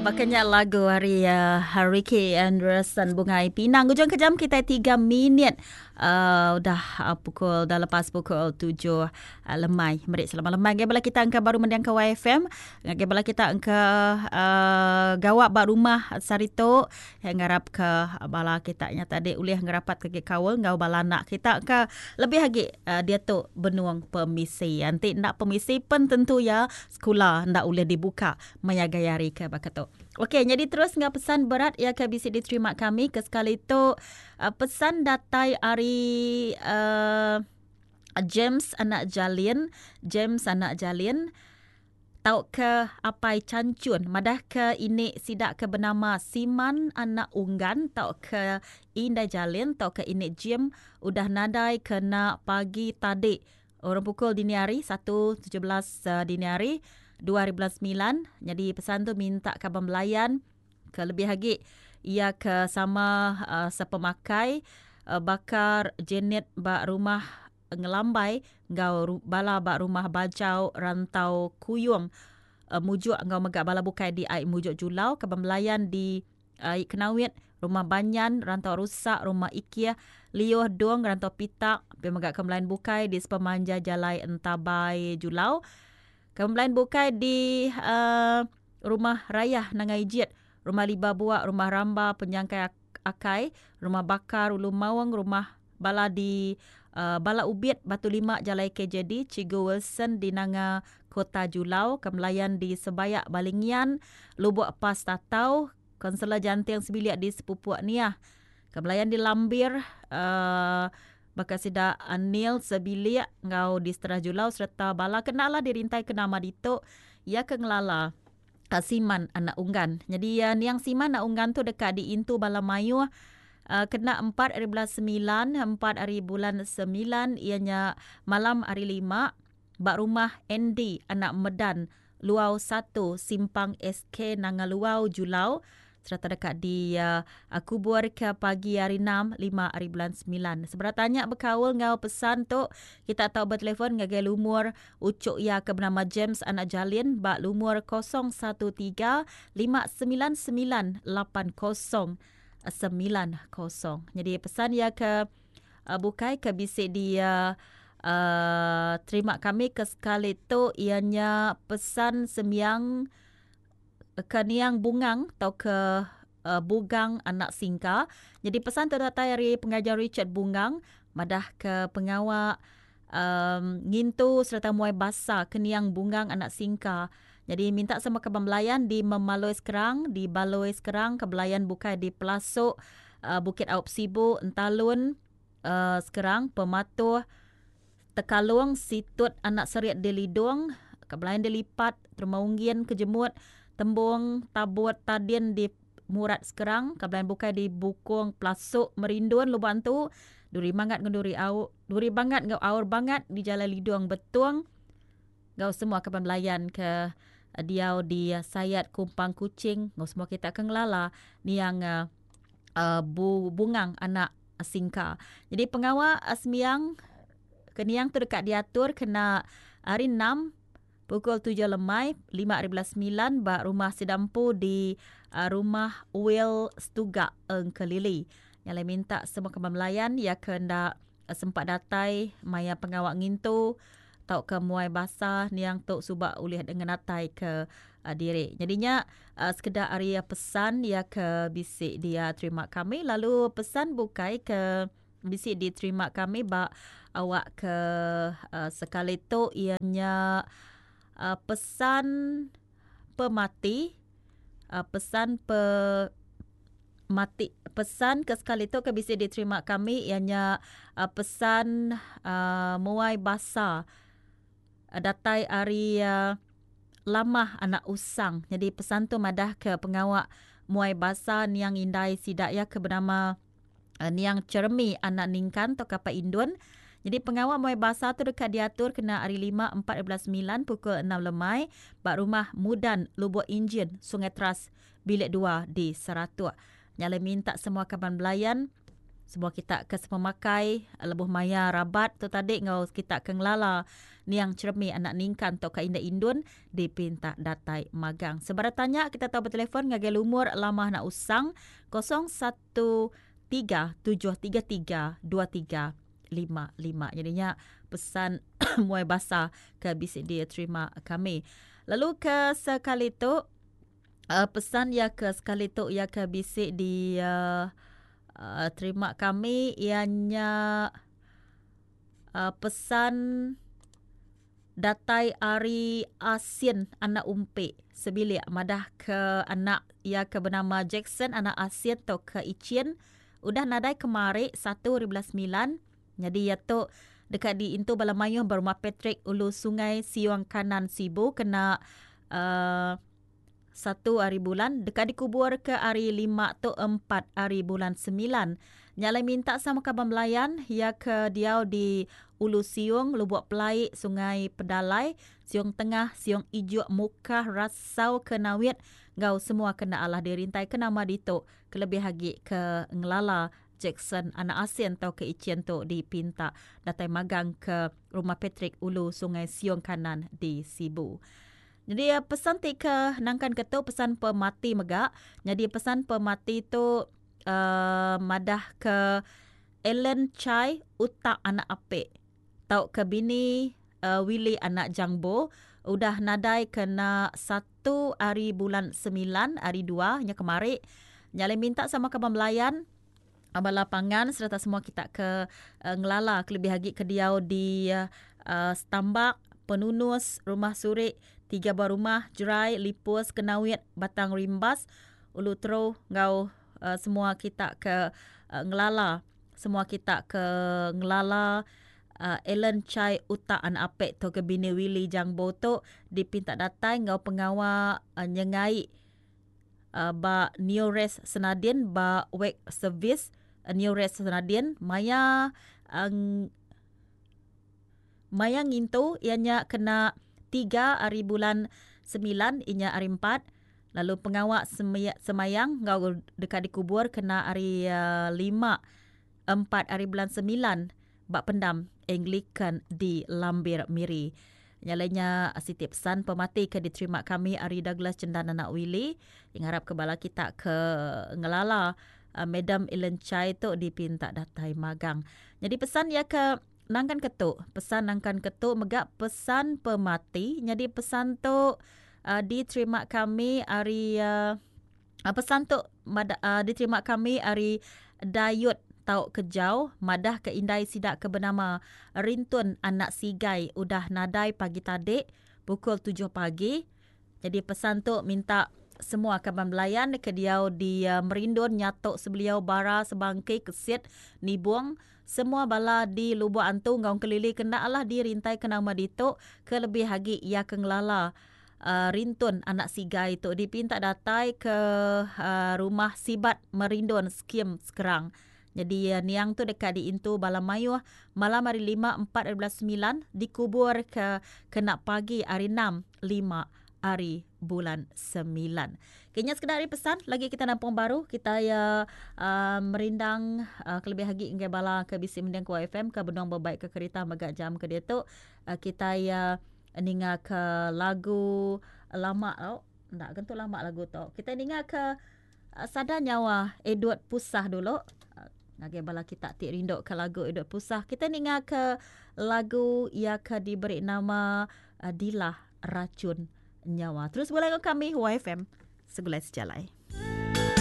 Baka nya lagu ari uh, Ricky Anderson Bungai Pinang. Ujung ke jam kita 3 minit uh, udah uh, pukul dah lepas pukul 7 uh, lemai. Meri selamat lemai ngagai bala kita engka baru mendiang ke YFM. Ngagai bala kita engka uh, gawak ba rumah saritu. Yang ngarap ke bala kita nya tadi ulih ngerapat ke kaul enggau bala anak kita ke lebih agi uh, dia tu benung pemisi. Enti enda pemisi pen tentu ya sekula enda ulih dibuka maya gaya hari ke baka tu. Okey, nyadi terus enggau pesan berat iya ke bisi diterima kami ke sekali tu uh, pesan datai ari uh, James anak Jalin, James anak Jalin tauka Apai Chanchun madah ke ini sida ke benama Siman anak Unggan tauka Indai Jalin tauka ini Jim udah nadai kena pagi tadi Orang pukul dini hari, satu 17 dini hari, dua hari bulan semilan. Nyadi pesan tu minta kaban belayan ke lebih agi iya ke sama uh, sepemakai uh, bakar Janet ba rumah Ngelambai enggau bala ba rumah Bajau Rantau Kuyung uh, Mujuk enggau mega bala bukai di Ai Mujuk Julau kaban belayan di Ai Kenawit, Rumah Banyan, Rantau Rusak, Rumah Ikih, Liuh Dong, Rantau Pitak, pia mega ke belain bukai di sepemanjai Jalai Entabai Julau. Ke belain bukai di uh, Rumah Rayah Nanga Ijit, Rumah Liba Buak, Rumah Ramba, Penyangkai Akai, Rumah Bakar, Ulu Maung, Rumah Bala di uh, Bala Ubit, Batu Lima, Jalai KJD, Cikgu Wilson di Nanga Kota Julau, Kemelayan di Sebayak Balingian, Lubuk Pas Tatau, Konselor Janting Sebilik di Sepupuk Niah, Kemelayan di Lambir, uh, baka sida Anil Sebilik enggau di Seterah Julau sereta bala kena lah dirintai ke nama ditu iya ke ngelala Siman anak Unggan. Nyadi uh, niang Siman anak Unggan tu deka diintu bala mayuh uh, kena 4 hari bulan 9, 4 hari bulan 9 iya nya malam hari 5 ba rumah Andy anak Medan Luau 1 Simpang SK Nanga Luau Julau sereta deka di uh, kubur ke pagi hari 6 5 hari bulan 9. Seberapa tanya bekaul enggau pesan tu kita tau bertelefon ngagai lumur Ucuk iya ke benama James anak Jalin ba lumur 013 599 8090. Nyadi pesan iya ke uh, bukai ke bisi di uh, uh, terima kami ke sekali tu iya nya pesan sembiang ke niang Bungang tau ke uh, Bugang anak Singka. Jadi pesan tu datai ari pengajar Richard Bungang madah ke pengawa um, ngintu sereta muai basa ke niang Bungang anak Singka. Jadi minta sama kaban belayan di Memaloi Sekerang, di Baloi Sekerang, ke belayan bukai di Pelasuk, uh, Bukit Aup Sibu, Entalun, uh, Sekerang, Pematuh, Tekalung, Situt anak Serit di Lidong, ke belayan di Lipat, Terma Unggin, Kejemut, Tembung, Tabut, Tadin di Murat Sekerang, ke belayan bukai di Bukong, Pelasuk, Merindun, Lubok Antu, Duri Mangat enggau Duri Au, Duri Bangat enggau Aur Bangat di Jalai Lidong Betong enggau semua kaban belayan ke diau di Sayat Kumpang Kuching enggau semua kita ke ngelala niang uh, Bu Bungang anak Singka. Jadi pengawa sembiang ke niang tu deka diatur kena hari 6 Pukul tujuh lemai, lima ari belas semilan ba rumah sida empu di Rumah Will Setuga Engkelili. Nya alai minta semua kaban belayan iya ke enda sempat datai maya pengawa ngintu tauka muai basa niang tu suba ulih ngenatai ke diri. Nyadi nya sekeda ari pesan iya ke bisi dia terima kami lalu pesan bukai ke Bisi diterima kami ba awak ke uh, sekali tu iya nya uh, pesan pemati uh, pesan pe mati pesan ke sekali tu ke bisi diterima kami iya nya uh, pesan uh, muai basa uh, datai ari uh, Lamah anak Usang. Jadi pesan tu madah ke pengawa muai basa niang indai sida iya ke benama Niang Cheremi anak Ningkan tauka Pak Indun. Nyadi pengawa muai basa tu deka diatur kena hari lima empat ribu belas semilan pukul enam lemai ba Rumah Mudan Lubok Injin, Sungai Teras, Bilik dua di Saratok. Nya alai minta semua kaban belayan. Semua kita ke sepemakai lebuh maya rabat tu tadi enggau kita ke ngelala niang Cheremi anak Ningkan tauka Indai Indun dipinta datai magang. Sebarang tanya kita tau betelefon ngagai lumur lama anak usang 013 733 2355. Jadi nya pesan muai basa ke bisi diterima kami. Lalu ke sekali tu uh, pesan ya ke sekali tu ya ke bisi di uh, uh, terima kami ianya uh, pesan datai ari Asin anak Umpik sebilik madah ke anak ia ke bernama Jackson anak Asin atau ke Ichin udah nadai kemari 1 hari bulan 9. Jadi ia tu dekat di intu bala mayuh berumah Patrick Ulu Sungai Siong Kanan Sibu kena 1 hari bulan, dekat dikubur ke hari 5 tu 4 hari bulan 9. Nyalai minta sama kaban belayan ya ke diau di Ulu Siung, Lubuk Pelai, Sungai Pedalai, Siung Tengah, Siung Ijuk, Mukah, Rasau, Kenawit, ngau semua kena Allah dirintai ke nama ditu kelebih lagi ke ngelala Jackson anak Asin atau ke Ichin tu dipinta datai magang ke rumah Patrick Ulu Sungai Siung Kanan di Sibu. Jadi eh, pesan ti ke nangkan ke tu pesan pemati mega. Jadi pesan pemati tu madah ke Ellen Chai utak anak apek. Tau ke bini Willy anak Jangbo udah nadai kena 1 hari bulan 9 hari 2 nya kemari. Nyalai minta sama kaban belayan bala pangan serta semua kita ke ngelala kelebih lagi ke diau di Stambak, Penunus, Rumah Surik, tiga buah rumah, Jerai, Lipus, Kenawit, Batang Rimbas, Ulu Tero, ngau semua kita ke ngelala, semua kita ke ngelala Ellen Chai Utak anak apek tu ke bini Willy Jangbo tu dipinta datai ngau pengawa nyengai ba Neores Senadin ba Wake Service Neores Senadin maya maya ngintu ianya kena 3 hari bulan 9 inya hari 4, lalu pengawa semayang ngau dekat dikubur kena hari 5 4 hari bulan 9 bak pendam Anglican di Lambir Miri. Nyalainya siti pesan pemati ke diterima kami ari Douglas Cendan anak Willy yang harap ke bala kita ke ngelala Madam Ellen Chai tu dipinta datai magang. Jadi pesan ya ke nangkan ketuk, pesan nangkan ketuk megak pesan pemati. Jadi pesan tu diterima kami ari pesan tu diterima kami ari Dayut tau kejau madah ke indai sidak ke bernama Rintun anak Sigai udah nadai pagi tadi pukul 7 pagi. Jadi pesan tu minta semua kaban belayan ke diau di Merindun, Nyatok, Sebeliau, Bara, Sebangki, Kesit, Nibung, semua bala di Lubuk Antu ngau kelili kena Allah dirintai ke nama ditu ke lebih lagi ia ke ngelala Rintun anak Sigai tu dipinta datai ke rumah Sibat Merindun Skim Sekerang. Jadi niang tu dekat di Intu Bala Mayuh malam hari 5 4 hari 9, dikubur ke kena pagi hari 6 5 hari bulan 9. Kayaknya sekedar hari pesan lagi kita nampung baru kita ya merindang kelebih lagi ngai bala ke bisi mending ku FM ke benung berbaik ke kereta megak jam ke dia tu kita ya ninga ke lagu lama tau. Ndak gentu lama lagu tu. Kita ninga ke sada nyawa Edward Pusah dulu. Ngagai bala kita ti rindu ke lagu Edward Pusah. Kita ninga ke lagu ia ke diberi nama Dilah Racun Nyawa. Terus boleh kami YFM Segulai Sejalai.